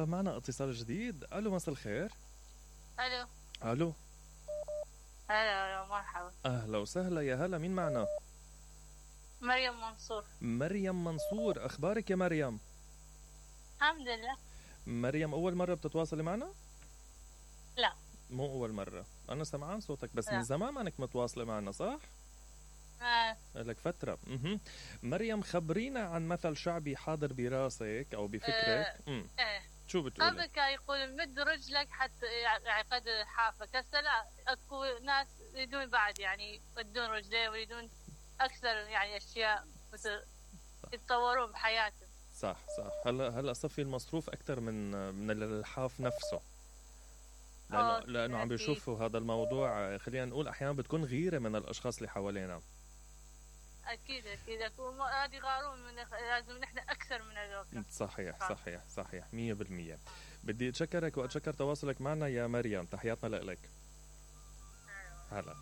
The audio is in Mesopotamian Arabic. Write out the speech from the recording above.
معنا اتصال جديد. الو مساء الخير. الو الو هلا مرحبا. اهلا وسهلا، يا هلا، مين معنا؟ مريم منصور. مريم منصور، اخبارك يا مريم؟ الحمد لله. مريم اول مرة بتتواصلي معنا؟ لا مو اول مرة، انا سمعان صوتك بس لا. من زمان ما انك متواصلة معنا، صح؟ لك فترة. مريم خبرينا عن مثل شعبي حاضر براسك او بفكرك. شو بتقولي؟ قبل كان يقول مد رجلك حتى يعني قد حافك، هسه لا، اكو ناس يريدون بعد يعني يمدون رجليه ويريدون اكثر يعني اشياء مثل يتطورون بحياتهم. صح. هلا صفي المصروف اكثر من الحاف نفسه، لانه عم بيشوفوا هذا الموضوع، خلينا نقول احيانا بتكون غيرة من الاشخاص اللي حوالينا. اكيد هذه يغارون من، لازم نحن اكثر من هذول. صحيح 100%. بدي اتشكرك واتشكر تواصلك معنا يا مريم، تحياتنا لك. هلا